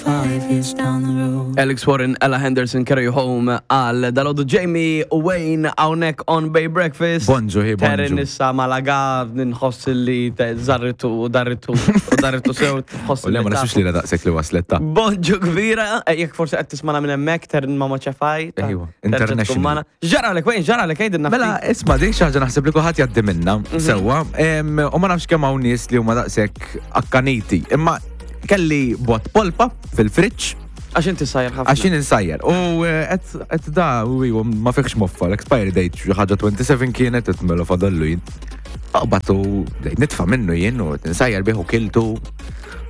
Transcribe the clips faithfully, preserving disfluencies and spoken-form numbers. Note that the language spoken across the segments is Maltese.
Five years down the road. Alex Warren, Ella Henderson, Carry You Home, għal dalgħodu Jamie u Wayne hawnhekk on Bay Breakfast. Bonġu, hi, bonġu. Terin issa Malaga, nħoss li te- zarritu u darritu u darritu sew, tħoss U le ma li nasux tafu. li la daqsek li waslet ta' Bonġu kbira, eh, jekk forsi qed tismana minn hemmhekk, Terin Mama Ċefaj. ta' Ejwa, terġa' tkun international. magħna. Ġara lek, Wayne, ġara lek, għidilna Mela, ftit. isma, dik xi ħaġa naħseb li kulħadd jgħaddi minna, sewwa, em, u ma nafx kemm hawn nies li huma daqshekk akkaniti. Imma kelli bot polpa fil-friġġ Għax inti sajjar ħafna. għax jien insajjar. U eh, qed qed da u iwa, ma fiħx moffa, l-expiry date xi ħaġa twenty-seven kienet qed mela fadallu jien. Aqbatu bdejt nitfa' minnu jien u nsajjar bih u kiltu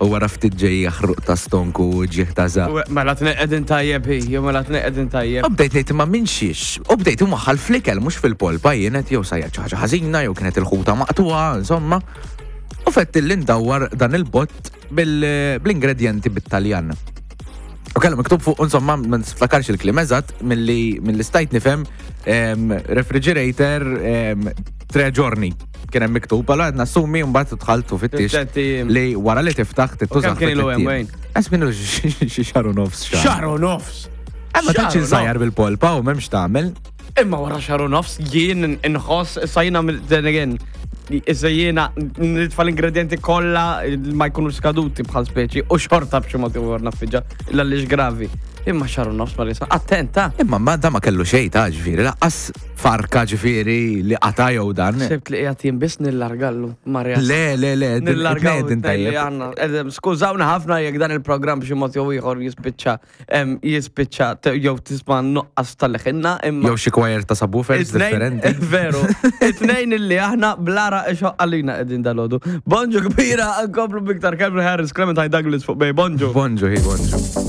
u wara ftit ġej jaħruq ta' stonku u ġieħ ta' żaq. U mela tneqedin tajjeb hi, jew mela tneqedin tajjeb. U bdejt ngħid imma minn xiex. U bdejt imwaħħal fl-ikel mhux fil-polpa jien qed jew sajjar xi ħaġa ħażina jew kienet il-ħuta maqtuha, insomma. U fett li ndawwar dan il-bot bil- bl-ingredienti bit-Taljan. U kellu miktub fuq, insomma, ma niftakarx il-kliem eżatt, milli milli stajt nifhem em, refrigerator em, tre giorni. Kien hemm miktub, allora qed nassumi mbagħad dħalt u fittix Tlett ijiem. li wara li tiftaħ tittuża. U kemm kien ilu hemm, Wayne? Għas minnu xi xahar u nofs xahar. Xahar u nofs. Ma tantx Xahar u insajjar bil-polpa u m'hemmx tagħmel. Imma wara xahar u nofs jien inħoss issa jiena mill- then again issa jiena nitfa' l-ingredienti kollha ma jkunu skaduti bħal speċi u xorta b'xi mod ieħor naffiġa illa lix gravi. Imma xahar u nofs ma risa. Attenta. Imma ma da ma kellu xejn ta' ġifieri, laqqas farka ġifieri li qata' jew dan. Sibt li qiegħed jien biss nillargallu Marja. Le, le, le, din- Nillargaw din it-tnejn li tajjeb. għandna. Edem, Skużawna ħafna jekk dan il-programm b'xi mod jew ieħor jispiċċa em, jispiċċa te- jew tisma' nuqqas tal-leħinna imma Jew xi choir ta' subwoofers It-tnejn- differenti. Veru. It-tnejn illi aħna blara ixoq għalina qegħdin dalgħodu. Bonġu kbira, nkomplu biktar Calvin Harris, Clementine Douglas fuq Bay. Bonġu. Bonġu, hi, bonġu.